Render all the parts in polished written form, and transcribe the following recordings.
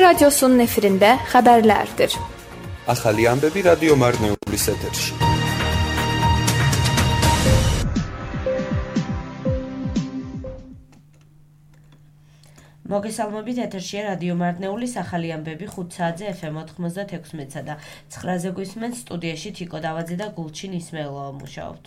Radyosu'nun efirinde haberlerdir. Ახალი ამბები რადიო მარნეულის ეთერში. მოგესალმებით, ეთერშია რადიო მარნეულის ახალი ამბები 5 საათზე FM 96-ზე და 9-ზე გვისმენთ studიაში თიკო დავაძე და Gulçin İsmailova muşavt.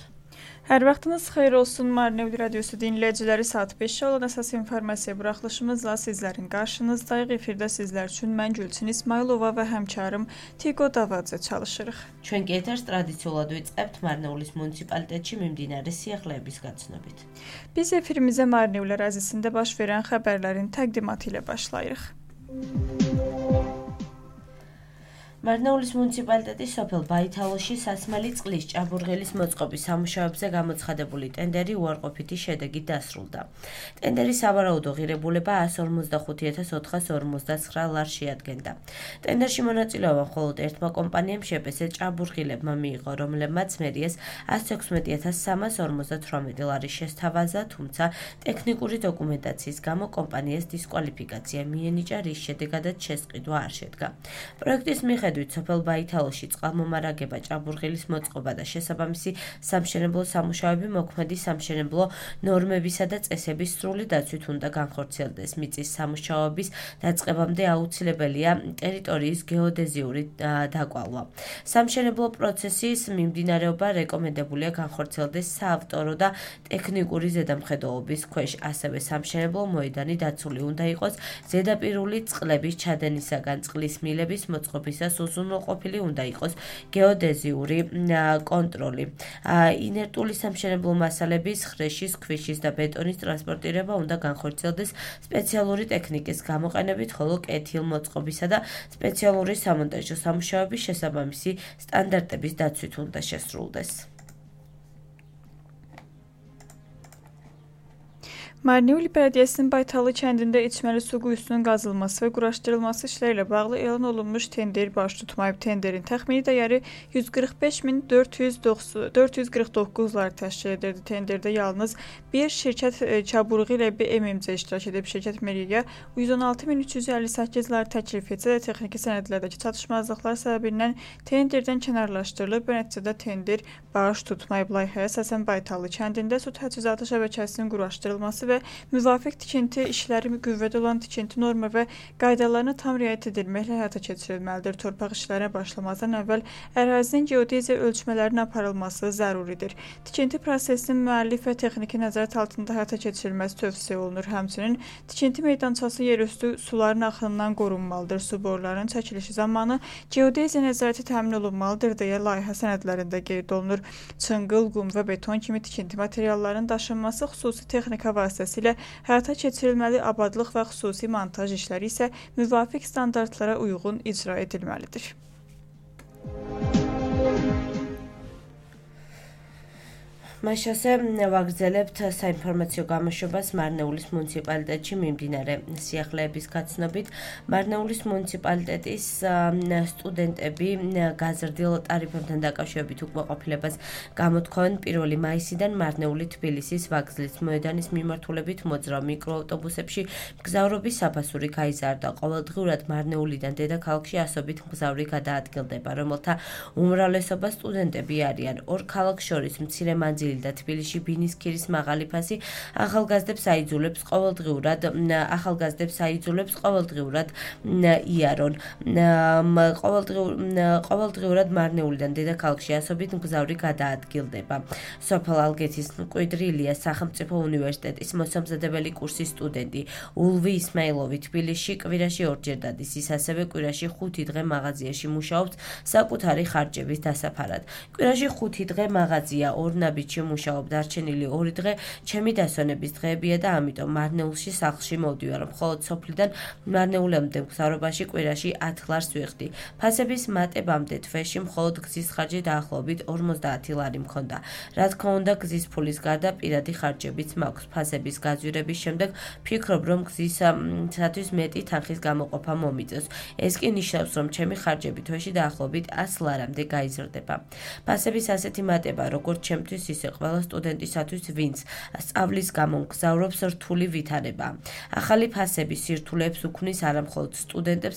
Her vaxtınız xeyir olsun. Marnevli Radyosu dinleyicileri saat 5 olan əsas informasiya buraxılışımızla sizlərin qarşınızdayıq. Efirdə sizlər üçün mən Gulçin İsmailova və həmkarım Tiko Davadze çalışırıq. Ჩვენ კი ეთერს ტრადიციულად ვიწყებთ მარნეულის მუნიციპალიტეტში მიმდინარე სიახლეების გაცნობით. Biz efirimizə Marnevli ərazisində baş verən xəbərlərin təqdimatı ilə başlayırıq. მარნეულის მუნიციპალიტეტის სოფელ ბაითალოში სასმელი წყლის ჭაბურღილის მოწყობის სამუშაოებზე გამოცხადებული ტენდერი უარყოფითი შედეგით დასრულდა. ტენდერის სავარაუდო ღირებულება 155,459 ლარს შეადგენდა. ტენდერში მონაწილეობა მხოლოდ ერთმა კომპანიამ შეპესე ჭაბურღილებმა მიიღო, რომლებმაც მერიას 116,358 ლარის შესთავაზა, თუმცა ტექნიკური დოკუმენტაციის გამო კომპანიას დისკვალიფიკაცია მიენიჭა, რის შედეგადაც შესყიდვა არ შედგა. პროექტის მიხედვით სოფელ ბაითალოში წყალმომარაგება, ჭაბურღილის მოწყობა და შესაბამისი სამშენებლო სამუშაოები მოქმედი სამშენებლო ნორმებისა და წესების სრული დაცვით უნდა განხორციელდეს. მიწის სამუშაოების დაწყებამდე აუცილებელია ტერიტორიის გეოდეზიური დაკვალვა. სამშენებლო პროცესის მიმდინარეობა რეკომენდებულია განხორციელდეს საავტორო და ტექნიკური ზედამხედველობის ქვეშ. ასევე სამშენებლო მოედანი დაცული უნდა იყოს ზედაპირული წყლების ჩადენისაგან, წყლის მილების მოწყობისას უზრუნველყოფილი უნდა იყოს გეოდეზიური კონტროლი. ინერტული სამშენებლო მასალების, ხრეშის, ქვიშის და ბეტონის ტრანსპორტირება უნდა განხორციელდეს სპეციალური ტექნიკის გამოყენებით, ხოლო კეთილმოწყობისა და სპეციალური სამონტაჟო სამუშაოების შესაბამისი სტანდარტების დაცვით უნდა შესრულდეს. Marnevli Belediyesi'nin Baytalı kəndində içməli su quyusunun qazılması və quraşdırılması işləri ilə bağlı elan olunmuş tender baş tutmayıb. Tenderin təxmini dəyəri 145.449 lar təşkil edirdi. Tenderdə yalnız bir şirkət Çaburği ilə bir MMC iştirak edib. Şirkət Meriya 116.358 lar təklif etsə də texniki sənədlərdəki çatışmazlıqlar səbəbindən tenderdən kənarlaşdırılıb. Bu nəticədə tender baş tutmayıb. Layihəyə əsasən Baytalı kəndində su təchizatı şəbəkəsinin quraşdırılması və müvafiq tikinti işləri qüvvədə olan tikinti norma və qaydalarına tam riayət edilməklə həyata keçirilməlidir. Torpaq işlərinə başlamazdan əvvəl ərazinin geodeziya ölçmələrinin aparılması zəruridir. Tikinti prosesinin müəllif və texniki nəzarət altında həyata keçirilməsi tövsiyə olunur. Həmçinin tikinti meydançası yerüstü suların axınından qorunmalıdır. Su borularının çəkilişi zamanı geodeziya nəzarəti təmin olunmalıdır deyə layihə sənədlərində qeyd olunur. Çınqıl, qum və beton kimi tikinti materiallarının daşınması xüsusi texnika vasitəsilə həyata keçirilməli, abadlıq və xüsusi montaj işləri isə müvafiq standartlara uyğun icra edilməlidir. Მას ასე ვაგრძელებთ საინფორმაციო გამოშვებას მარნეულის მუნიციპალიტეტში მიმდინარე სიახლეების გაცნობით. მარნეულის მუნიციპალიტეტის სტუდენტები გაზრდილ ტარიფებთან დაკავშირებით უკმაყოფილებას გამოთქვამენ 1 მაისიდან მარნეული-თბილისის ვაგზლის მოედანის მიმართულებით მოძრავ მიკროავტობუსებში მგზავრობის საფასური გაიზარდა. ყოველდღიურად მარნეულიდან დედაქალაქში ასობით მგზავრი გადაადგილდება, რომელთა უმრავლესობა სტუდენტები არიან. ორ ქალაქს შორის მცირე მანძილი და თბილისში ბინისქირის მაღალი ფასი ახალგაზრდებს აიძულებს ყოველდღიურად იარონ. ყოველდღიურად მარნეულიდან დედაქალაქში ასობით მგზავრი გადაადგილდება. სოფელ ალგეთის მკვიდრი ილიას სახელმწიფო უნივერსიტეტის მოსამზადებელი კურსის სტუდენტი ულვი ისმაილოვი თბილისში კვირაში ორჯერ დადის. ის ასევე კვირაში 5 დღე მაღაზიაში მუშაობს საკუთარი ხარჯების დასაფარად. კვირაში 5 დღე მაღაზია, ორ ნაბიჯში მუშაობ, დარჩენილი 2 დღე ჩემი დასვენების დღეებია და ამიტომ მარნეულში სახლში მოვდივარ. მხოლოდ სოფლიდან მარნეულამდე მგზავრობაში კვირაში 10 ლარს ვიხდი. ფასების მატებამდე თვეში მხოლოდ გზის ხარჯი დაახლოებით 50 ლარი მქონდა. რა თქმა უნდა, გზის ფულის გარდა პირადი ხარჯებიც მაქვს. ფასების გაძვირების შემდეგ ვფიქრობ, რომ გზისათვის მეტი თანხის გამოყოფა მომიწევს. ეს კი ნიშნავს, რომ ჩემი ხარჯები თვეში დაახლოებით 100 ლარამდე გაიზრდება. ფასების ასეთი მატება, როგორც ჩემთვის, ისე ყველა სტუდენტისათვის, ვინც სწავლის გამო მგზავრობს, რთული ვითარება. ახალი ფასების სირთულეებს უქმნის არა მხოლოდ სტუდენტებს,